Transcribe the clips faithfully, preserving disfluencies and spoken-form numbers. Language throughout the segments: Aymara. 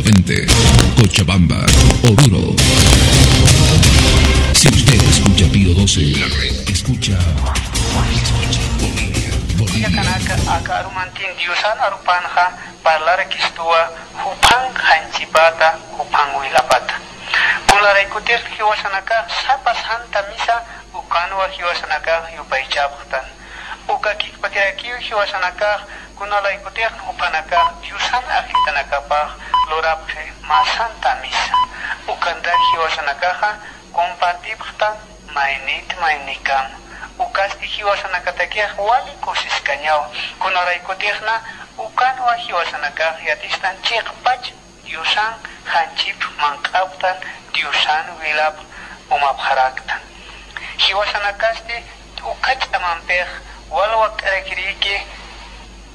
Veinte, Cochabamba, Oruro. Si usted escucha Pío doce, escucha, escucha Bolivia, Bolivia. Aka arumantin Diosan arupanxa parlarakistuwa juphan janchipata, juphan wilapata. Kunaraykutix jiwasanakax sapa Santa Misa ukanwa jiwasanakax yupaychapxtan. Uka kikpatirakiw jiwasanakax kunalaykutix jupanakax Diosan ajllitanakapax lurapxi mä Santa Misa. Ukantax jiwasanakaxa compartipxtan maynit maynikama. Ukasti jiwasanakatakix wali kusiskañawa. Kunaraykutixna ukanwa jiwasanakax yatistan chiqpach Diosan janchip manq'aptan, Diosan wilap umapxaraktan. Jiwasanakasti uka ch'amampix walwak'arakiriki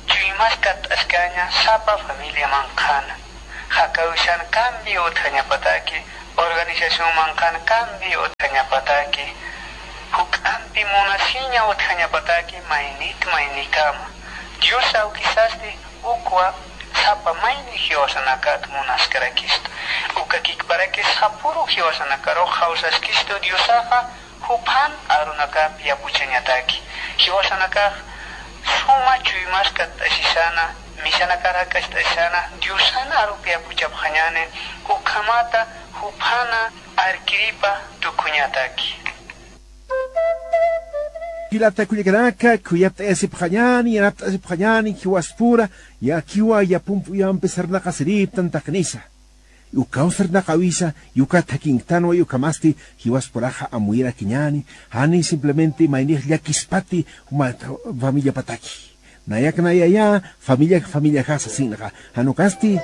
chuymas katt'askaña sapa familia manqhana. Jakawisan cambio utjañapataki, organización manqhan cambio utjañapataki, juk'ampi munasiña utjañapataki maynit maynikama. Dios awkisasti ukwa sapa mayni jiwasanakat munaskarakistu. Uka kikparakis sapüru jiwasanakarux jawsaskistu Diosaxa juphan arunakap yapuchañataki. Jiwasanakax suma chuymas katt'asisana, misanakar jak'acht'asisana, Diosan arup yapuchapxañäni, ukhamata juphana arkiripa tukuñataki. Jilata kullakanaka, khuyapt'ayasipxañäni, yanapt'asipxañäni, jiwaspura, yakiwa yapump uyampi sarnaqasiriptan taqinisa. Ukaw sarnaqawisa, ukat jakinktanwa, ukhamasti jiwaspuraxa amuyirakiñäni, jani simplemente maynix llakispati, uma familiapataki. Nayak nayaya, familia, familiaxa sasinxa, jan ukasti,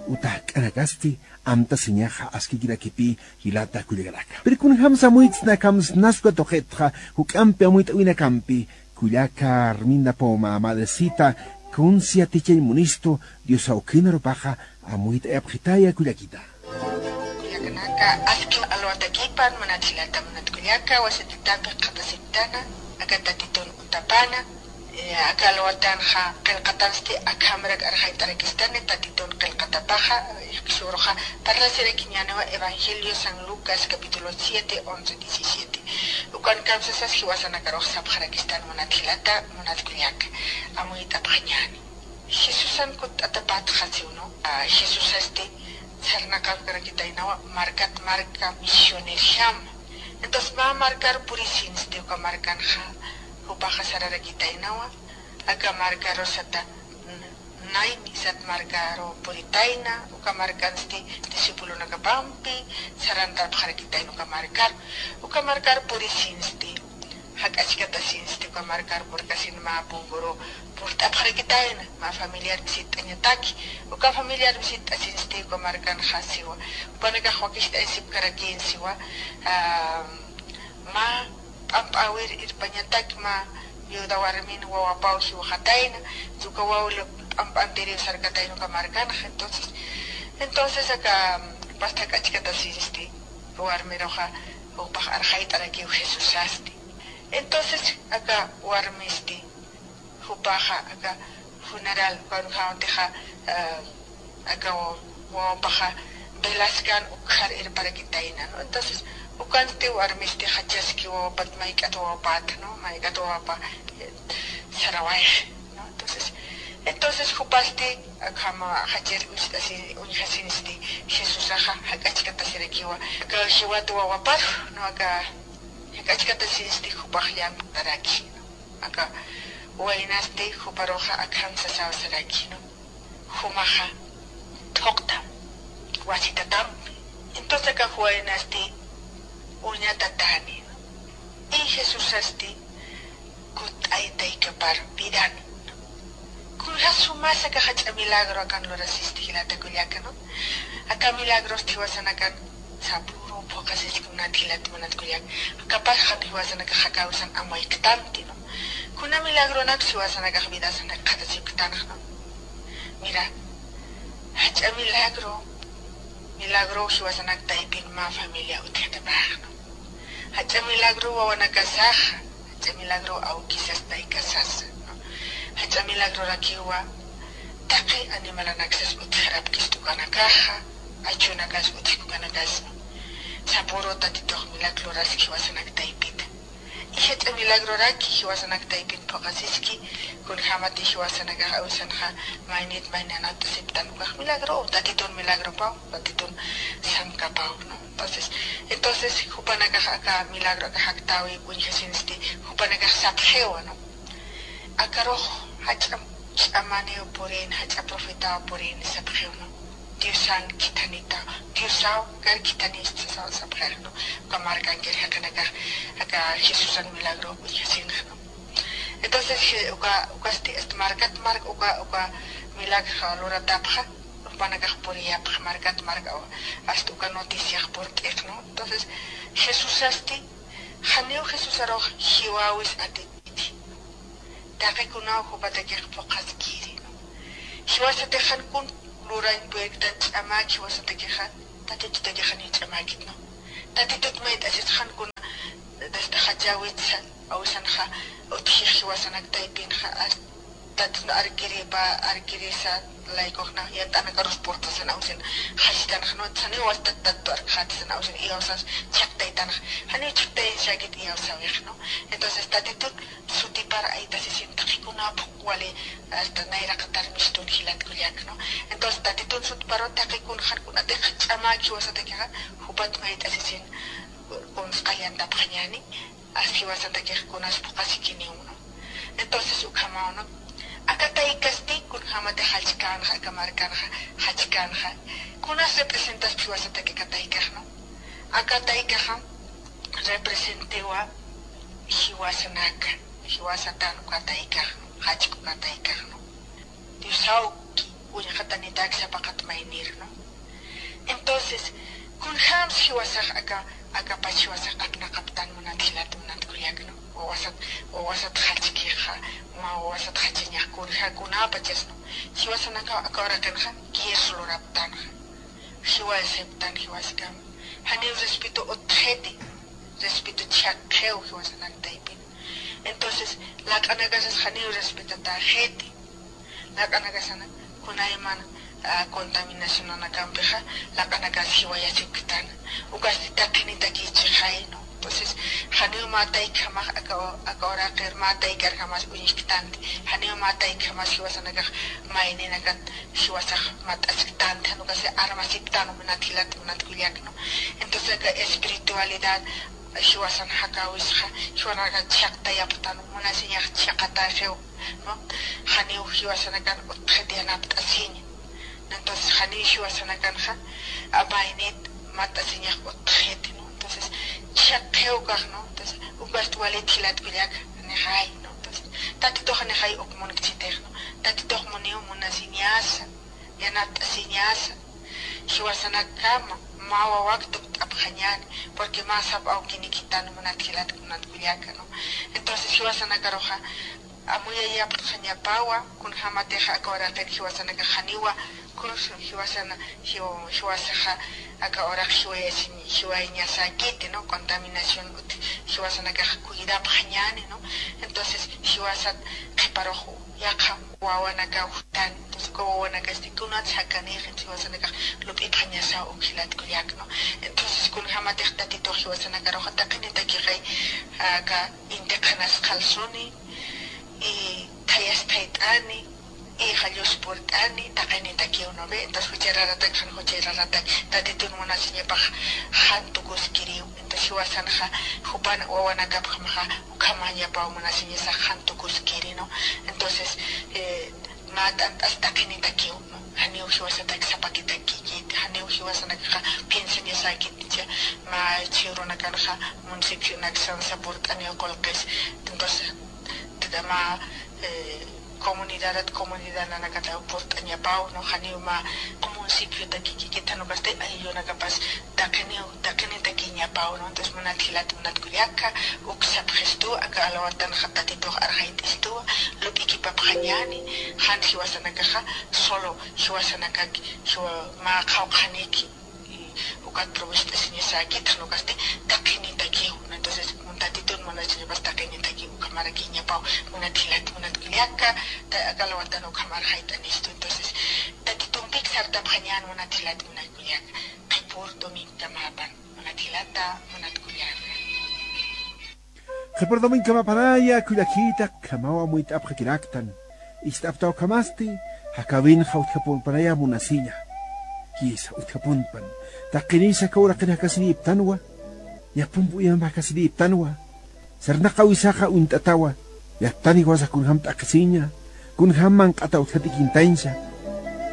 uta jak'anakasti, amtasiñaxa askikirakipi, jilata kullakanaka. Pero kunjamsa amuyt'sna, akham snas uka tuqitxa, juk'ampi amuyt'awinakampi, kullaka Arminda Poma, madrecita, kunsi yatichañ munistu, Dios awkin arupaxa, amuyt'ayapxitaya kullakita. Kullakanaka, aski alwatakipan, munat jilata, munat kullaka, wasititapi qhatasiptana, aka Tatitun utapana, eh, aka alwatanxa qillqatansti, akhamrak arxayt'arakistani, Tatitun qillqatapaxa, eh, jisk'uruxa, parlasirakiñäniwa Evangelio San Lucas, capítulo siete, once, diecisiete. Ukan kamsasas jiwasanakarux sapxarakistan, munat jilata, munat kullaka, amuyt'apxañäni. Jesusan kutt'atapatxa siwno, ah, Jesusasti sarnaqapkarakitaynawa markat marka misionerjama. Entonces, mä markar purisinsti uka markanxa, jupaxa sararakitaynawa, aka markaru sata, mm, Nain sat markaru puritayna, uka markansti discipulonakapampi sarantarpxarakitayna uka markar, uka markar purisinsti. Jak'achkatasinsti uka markar purkasin mä punkuru purt'apxarakitayna, mä familiar visit'añataki, uka familiar visit'asinsti uka markanxa siwa, jupanakax wakicht'ayasipkarakïn siwa, ah, mä p'amp'äwir irpañatak, mä viuda warmin wawapaw jiwxatayna, uka waw p'amp'antiriw sarkatayna uka markanxa, entonces, entonces aka pasta jak'achkatasinsti, warmiruxa, jupax arxayt'arakiw Jesusasti. Entonces, aka warmisti, jupaxa, aka funeral, kunjamatixa, eh, aka wa-, wawapaxa velaskan ukxar irparakitayna, ¿no? Entonces, ukansti warmisti jachaski wawapat, mayk'at wawapät, ¿no? Mayk'at wawapa, eh, sarawayxi, ¿no? Entonces, entonces, jupasti, akhama jachir uñjasi-, uñjasinsti, Jesusaxa jak'achkatasirakiwa, aka jiwat wawapar, ¿no? Aka jak'achkatasinsti jupax llank'taraki, ¿no? Aka waynasti juparuxa akham sasaw saraki, ¿no? Jumaxa thuqtam wasitatampi. Entonces aka waynasti uñatatani, ¿no? Y Jesusasti kutt'aytaykapar vidan, ¿no? Kunja sumasa aka jach'a milagro akan lurasisti jilata kullaka, ¿no? Aka milagrosti jiwasanakan sapüru phuqhasiski munat jilat, munat kullak. Akapax jan jiwasanakax jakawisan amuyktanti, ¿no? Kuna milagronak jiwasanakax vidasanak qhatasipktanx, ¿no? Mira, jach'a milagro, milagro jiwasanak taypin mä familia utjatapax, ¿no? Jach'a milagro wawanakasaxa, jach'a milagro awkisas taykasasa, ¿no? Jach'a milagrorakiwa taqi animalanaksas utjarapkist ukanakaxa, achunakasa utjki ukanakasa. Sapüru Tatitux milagro luraski jiwasanak taypita. Y jach'a milagroraki jiwasanak taypin phuqasiski, kunjämati jiwasanakax awisanxa maynit mayni anat'asiptan ukax milagro, Tatitun milagropaw, Tatitun samkapaw, ¿no? Entonces, entonces, jupanakax aka milagro aka jaktäwi uñjasinsti, jupanakax sapxiwa, ¿no? Akarux jach'a ch'amaniw purin, jach'a profetaw purin sapxiw, ¿no? Diosan khithanita, Diosaw kar khithanista sa-, sapxix, ¿no? Uka markankir jaqinakax aka Jesusan milagro uñjasinxa, ¿no? Entonces, je-, uka, ukasti, este, markat mark, uka, uka milagro luratapxa, jupanakax puriyapxi markat mark, hasta uka noticiax purt'ix, ¿no? Entonces, Jesusasti, janiw Jesusarux jiwäwis atiti. Taqi kunaw jupatakix phuqhaskiri, ¿no? Jiwasatix jan kun lurañ puyktan ch'amäk jiwasatakixa, Tatitutakix janiw ch'amäkit, ¿no? Tatitut mayt'asis jan kuna, desde jachäwitsa, awisanxa, utjix jiwasanak taypinxa, hasta Tatitun arkiripa, arkirisa, laykuxna, yat'anakarus purtasan awisan, jachitanxa, ¿no? Janiw wasta Tatitu arkxätisan awisan, iyawsas chhaqtaytanxa, janiw chhaqtayasakit iyawsäwix, ¿no? Entonces, Tatitut sutipar aytasisin taqi kuna phuq wali, hasta nayraqatar mistun jilat kullak, ¿no? Entonces, Tatitun sutiparu taqi kun jan kunatix ch'amäk jiwasatakixa, jupat mayt'asisin kunsqallantapxañäni, as jiwasatakix kunas phuqhasikiniw, ¿no? Entonces, ukhamaw, ¿no? Aka taykasti, kunjämatix jachkänxa, aka markanxa, jachkänxa. Kunas representaspa jiwasataki aka taykax, ¿no? Aka taykaxa, representiwa jiwasanaka, jiwasatan uka taykax, jachk uka taykax, ¿no? Diosawki, uñxatanitak sapaqat maynir, ¿no? Entonces, kunjams jiwasax aka, akapach jiwasax apnaqaptan munat jilat munat kullak, ¿no? Wawasat, wawasat jachkixa, mä wawasat jachañax kunja kunapachas, ¿no? Jiwasanaka aka uraqinxa, guies luraptanxa. Jiwasiptan jiwaskam. Janiw respeto utjiti, respeto chhaqxiw jiwasanak taypin. Entonces, laq'anakasas janiw respetatäxiti. Laq'anakasana, kunayman, ah, contaminacionanakampixa, laq'anakas jiwayasipktan. Ukasti taqinitakichixay, ¿no? Entonces, janiw mä taykjamax aka, aka uraqir mä taykarjamas uñjktanti. Janiw mä taykjamas jiwasanakax mayninakat jiwasax mat'asktanti, jan ukasti armasiptan munat jilat, munat kullak, ¿no? Entonces, aka espiritualidad, jiwasan jakäwisxa, jiwasanakax chhaqtayapxtan, munasiñax chhaqatäxiw, ¿no? Janiw jiwasanakan utjit yanapt'asiña. Entonces, janiw jiwasanakanxa, a, maynit mat'asiñax utjiti, ¿no? Entonces, chhaqxiw ukax, ¿no? Entonces, ukast walit jilat kullak, janixay, ¿no? Entonces, Tatitux janixay uk munkchitix, ¿no? Tatitux muniw munasiñasa, yanapt'asiñasa, jiwasanakama, mä wawak tukt'apxañäni, porque mä sap awkinikitan munat jilat, munat kullaka, ¿no? Entonces, jiwasanakaruxa, amuyayapxañapawa, kunjämatixa aka uraqin jiwasanakax janiwa, kun jiwasana, jiw-, jiwasaxa, aka uraq jiwayasiñ-, jiwayañasäkiti, ¿no? Contaminación ut, jiwasanakax cuidapxañäni, ¿no? Entonces, jiwasat qhiparux yaqha wawanakaw jutani. Entonces, uka wawanakasti kunats jakanïxi, jiwasanakax lup'ipxañasaw uk jilat kullak, ¿no? Entonces, kunjämatix Tatitux jiwasanakaruxa taqinitakixay, aka inti qhanas qhalsuni, y thayas thayt'ani, y jallus purt'ani, taqinitakiw, ¿no ve? Entonces, juchararatak, jan juchararatak, Tatitun munasiñapax jan tukuskiriw. Entonces, jiwasanxa, jupan wawanakapjamaxa, ukhamañapaw munasiñasax jan tukuskiri, ¿no? Entonces, eh, mä t'ant'as taqinitakiw, ¿no? Janiw jiwasatak sapakitakikit, janiw jiwasanakaxa piensañasäkit, jichha mä jichhürunakanxa municipionaksansa purt'aniw qullqis. Entonces, mä, eh, comunidadat, comunidadanakataw purt'añapaw, ¿no? Janiw mä municipiotakikikit, jan ukasti ayllunakapas taqiniw, taqinitakiñapaw, ¿no? Entonces, munat jilat, munat kullaka, uk sapxistu, aka alawatanxa Tatitux arxayt'istuwa, lup'ikipapxañäni, jan jiwasanakaxa, solo jiwasanakak, jiwa-, mä qhawqhaniki, y Ukat probist'asiñasäkitxa, ukasti taqinitakiw. Entonces, mun Tatitun munasiñapas taqinitakiw, ukhamarakiñapaw, munat jilat, munat kullaka, ta-, aka lawatan ukhamar jayt'anistu. Entonces, Tatitumpik sartapxañän, munat jilat, munat kullaka, qhipür domingokamäpan, munat jilata, munat kullaka. Qhipür domingokamäpanaya, kullakita, ukhamaw amuyt'apxakiraktan. Ist'apxta ukhamasti, jakäwinxa utjapunpanaya munasiña. Jisa, utjapunpan. Taqinisa aka uraqir jakasirïptanwa. Yapump uyamp jakasirïptanwa. Sarnaqäwisaxa uñt'atawa. Yattan jiwasa kunjam t'aqhisiña. Kunjam manq'ata utjat ikintañsa.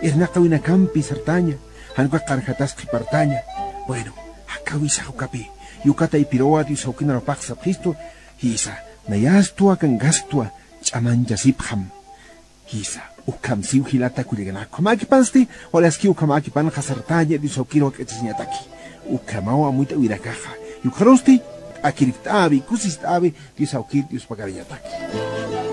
Irnaqäwinakampi sartaña. Jan ukax qanxatas qhipartaña. Bueno, jakäwisax ukapï. Yukataypirwa Dios awkin arupax sapxistu. Jisa, nayastwa kankaskta, ch'amanchasipxam. Jisa, ukham siw jilata kullakanak. Ukhamäkipansti, wali aski ukhamäkipanxa sartaña Dios awkir wak'achasiñataki. Ukhamaw amuyt'äwirakaxa. Yukxarusti, t'akirikt'äwi, kusist'äwi, Dios awkir Dios pagariñataki.